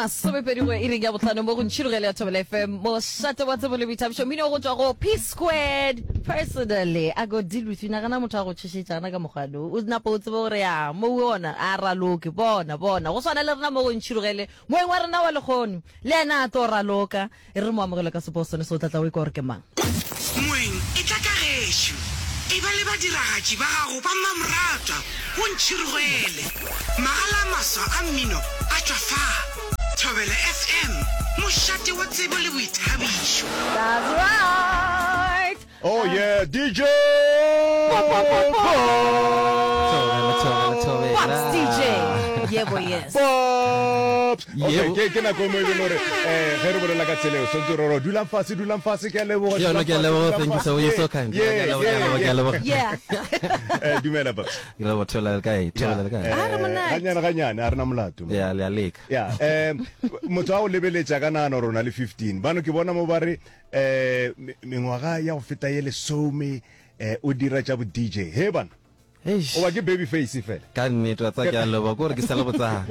Masomepedi go iring ya bohlano mo go Ntšhirogele ya Thobela FM, mošate wa tsebo le boithabišo, mmino go tšwa go P Squared. Personally, I go deal with you. Nagana motho a go tšhošetša gana ka mokgwa no. O napa o tsebe gore ya mo o ona a raloke. Bona, bona. Go swana le rena mo go Ntšhirogele, moeng wa rena wa lekgono le yena a tlo raloka. E re mo amogele ka sepo sone se o tla tla o ikwa gore ke mang. Moeng, etla ka gešo. Eba le badiragatši ba gago ba mmamoratwa go Ntšhirogele. Magala a maswa a mmino a tšwa fa. Thobela FM, mošate wa tsebo le boithabišo. That's right. Oh yeah, DJ Thobela, thobela, thobela. Pops DJ. Yebo yes. Pops. Okay, Yebo. ke ke nako e mo e leng gore eh ge re bolela ka tsela eo swantse re re dulang fase dulang fase ke a leboga Yo, no, dulang ke a fase, leboga. dulang Thank you so fase. You're so kind. Yeah, Ke a leboga, ke a yeah, leboga, ke a yeah. leboga. Yeah. Eh dumela Pops. Ke leboga, thobela le kae? Thobela le kae? A re monate. Ganyane ganyane a rena molato. Ya, le a leka. Ya, eh motho a o lebeletša ka nagana gore o na le 15. Bano ke bona mo ba re Eh, mengwaga ya go feta ye lesome eh, o dira tša bo DJ. He bana. Eish. O ba ke baby face fela. Ka nnete wa tsa ke a leboga gore ke sa le botsana.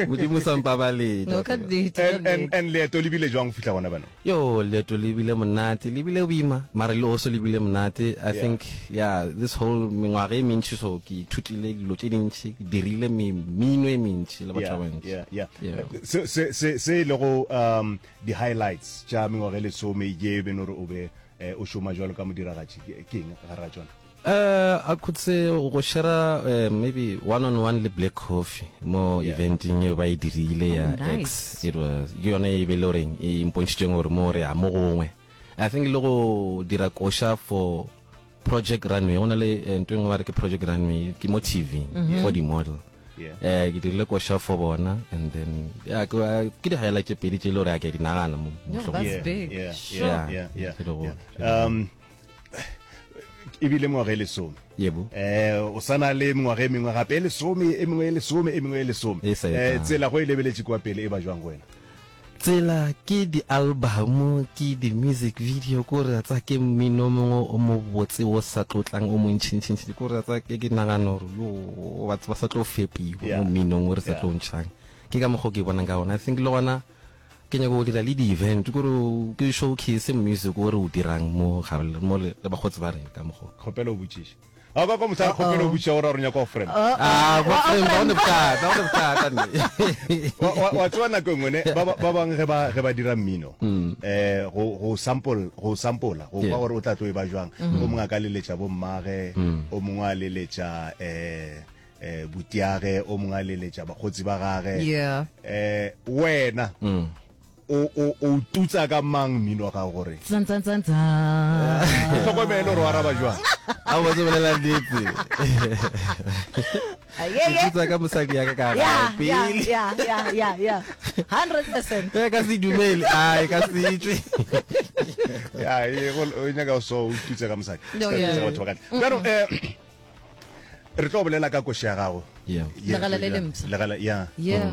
Modimo sa mpabalele. No ka nnete. And and and leeto le bile jwang go fihla gona bana? Yo, leeto le bile monate, le bile boima, mara le also le bile monate. I Yeah. think yeah, this whole mengwaga e mentši so ke ithutile dilo tše dintši, ke dirile mmino e mentši le batho Yeah, ba bantši. yeah, yeah. Yeah. Se se se se e lego um di highlights tša mengwaga e lesome ye be no re o be eh, o šoma jwalo ka modiragatši ke ke eng gare ga tšona? Uh, I could say go share uh, maybe one on one le Black Coffee mo Yeah. eventing eo ba e dirile ya Oh, nice. X it was ke yone e be le goreng e mpontšhitšeng gore mo re ya mo gongwe I think le go dira koša for Project Runway go na le eh, ntho e nngwe ba re ke Project Runway ke mo TV for di model Yeah. eh ke dirile koša for bona and then yeah ke ke di highlight tše pedi tše e le gore a ke a di nagana mo No, mohlomong. that's Yeah, big. yeah, Sure. yeah, yeah, yeah, Ke le go- yeah. Um e bile mengwaga e lesome Yebo. eh o sana le mengwaga e mengwe gape e lesome e mengwe e lesome e mengwe e lesome E sa eh etang. tsela go e lebeletše kwa pele e ba jwang go wena Tsela ke di album ke di music video ko re tsa ke mmino mongwe o mo botse o sa tlotlang o montšhintšhintši ko re tsa ke ke nagana gore yo batho ba sa tlo fepiwa Yeah. mo mminong o re sa Yeah. tlo ntšhang ke ka mokgwa o ke bonang ka gona i think le gona ke nyaka go dira le di-event kore ke showcase music o re o dirang mo gare mo le le bakgotsi ba rena ka mokgwa kgopelo o botšiše A kwa kwa mosadi kgopelo o botšiša gore a re nyaka go friend. Ah, go friend ba one bothata, one bothata nne. Wa wa wa tseba nako e nngwe ne ba ba bang ge ba ge ba dira mmino eh go go sample go sampola go kwa gore o tla tlo e ba jwang. O mongwe a ka leletša bo mmage, o mongwe a leletša eh eh butiage, o mongwe a leletša bakgotsi ba gage. Yeah. Eh wena O, o, o tutsa ka mang mmino wa gago gore Tsan, tsan, tsan, tsan. o hlokomele gore o araba jwang? A o botse bolela nnete. Ah, yeah, yeah. Ke tutsa ka mosadi ya ka ka Yeah, gae yeah, pele. yeah, yeah, yeah, yeah. 100%. E ka se dumele, ai ka se tšwe. Ya, e, go- o nyaka o so o tutse ka mosadi. No, Ska yeah. tutsa batho ba ka ntle. Bjalo, eh, re tlo bolela ka koši ya gago. Yeah. Ye re Legala tlo le dira- lempsha. Legala, yeah. Yeah.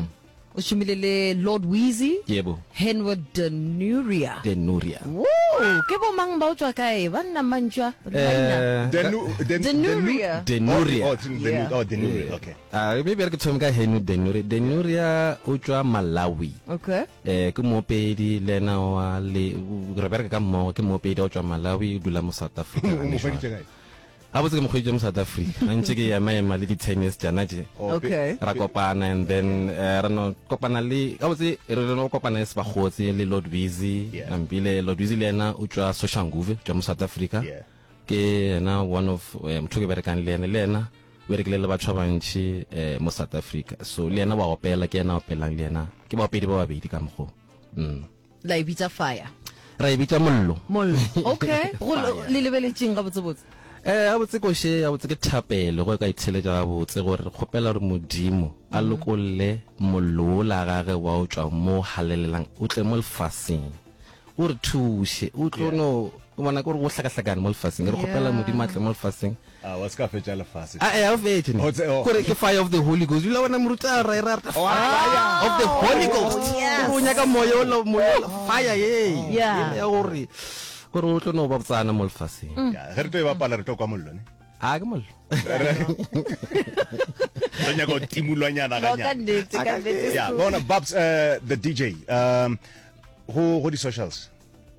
O šomile le Lord Weezy, Yebo. Henwood Denuria. Denuria. Woo, ke bo mang ba o tswa kae? Ba nna mantšwa maina. Eh, Denu, Den, Denuria. Denuria. Oh, oh, Denu, Yeah. oh, Denuria, okay. Ah, maybe re ke thome ka Henwood Denuria. Denuria o tšwa Malawi. Okay. Eh, ke moopedi le ena wa le re bereka ka mmogo ke moopedi o tšwa Malawi o dula mo South Africa. O mo hweditše kae? Gabotse ke mo hweditše mo South Africa ga ntše ke ema ema le di-tennis tšana tše. Oh, Okay. Ra kopana and then eh, ra no kopana le gabotse re re no kopana e se bakgotsi le Lord Weezy Yeah. Nampile Lord Weezy le yena o tšwa Soshanguve tšwa mo South Africa. Yeah. Ke yena one of eh, motho ke berekang le yena le yena o berekile le batho ba bantši eh, mo South Africa. So le yena wa opela ke yena a opelang le yena ke baopedi ba babedi ka mokgo. Mm. La e bitša fire. Ra e bitša mollo. Mollo. Okay. Go le lebeletšeng gabotsebotse? Eh, gabotse koše, gabotse ke thapelo go ka itheletša gabotse gore re kgopela gore Modimo a lokolle mollo wola gage wa o tšwa mo halelelang o tle mo lefaseng. O re thuše, o tlo no o bona ke gore go hlakahlakane mo lefaseng. Re kgopela Modimo a tle mo lefaseng. A wa se ka fetša lefase. A e a fetše ne. O tse- oh. Kore ke fire of the Holy Ghost. Dula bona moruti a ra ra Oh, fire of the Holy Ghost. yes. Gore o nyaka moya ola moya ola fire ye. Yeah. Ya gore gore o tlo no ba botsana mo lefaseng. Ya, ge re tlo e bapala re tlo kwa mollo ne. A ke mollo. Re nyaka go timulwanyana No, ka nnete, ka nnete. Yeah, bona Babs uh, the DJ um go go di socials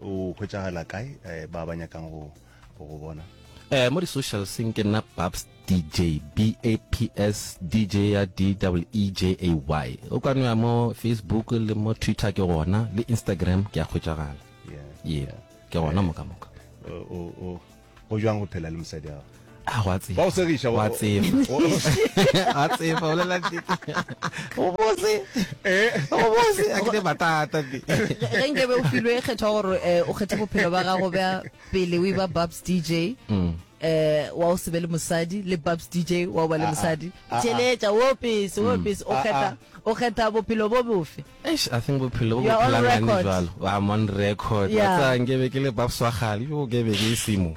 o hwetšagala kae eh, ba ba nyakang go go go bona Eh mo di socials ke nna Babs DJ B A P S DJ ya D E E J A Y. O ka no ya mo Facebook le mo Twitter ke gona le Instagram ke a hwetšagala. Yeah. Yeah. Ke gona mo ka moka. O o o Go bjang go phela le mosadi wa gago? A go a tsefa. Ba go segiša. Go a tsefa. A tsefa, bolela nnete. Go bose. Eh. Go bose, a ke ne matata nne. Ge nke be o filwe kgetho ya gore eh, o kgethe bophelo ba gago bja pele o eba Babs DJ Mm. eh wa o se be le mosadi le Babs DJ wa o ba le Ah, ah. mosadi Ah, ah. theletša wo pese wo pese o Ah, kgetha ah. o kgetha bophelo bo bofe Eish, I think bophelo bo You are on bo phelang gane record. jwalo. I'm on record. Yeah. Wa tseba nke be ke le Babs wa kgale, yo ke be ke e simo.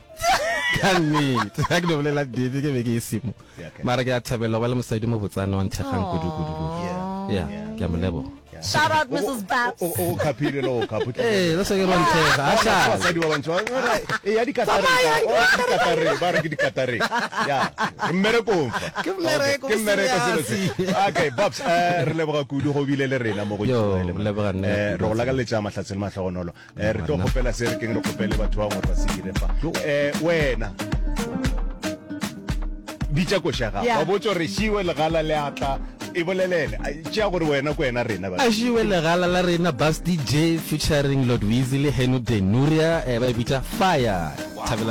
Ka nnete, ha ke no bolela nnete ke be ke e simo. Yeah, okay. Mara ke a thabela go ba le mosadi mo botsana wa nthekgang kudu kudu kudu. Yeah. Yeah, ke a mo leboga. Shout out Mrs. Babs. O o khapile le o khapho. Ee, le se ke ba nthekga. A šale. Basadi ba bantši ba re, e ya dikatareng. O dikatareng, ba re ke dikatareng. Ya, re mmerekong fa. Ke mmereko, Ke mmereko selo se. Okay, Babs, eh re leboga kudu go bile le rena mo go Yo, Tšhoele, man. leboga nna Eh, kudu. re go lakaletša mahlatse le mahlogonolo. Eh re tlo Banna. kgopela se re keng re kgopele batho ba gore ba se dire fa. Eh wena bitša koša gago Yeah. wa botša gore šiwe legala le atla e bolelele Ai, tšea gore wena ko wena rena ba A šiwe legala la rena Babs DJ featuring Lord Weezy le Henu Denuria eh, ba e bitša Fire. Thabela.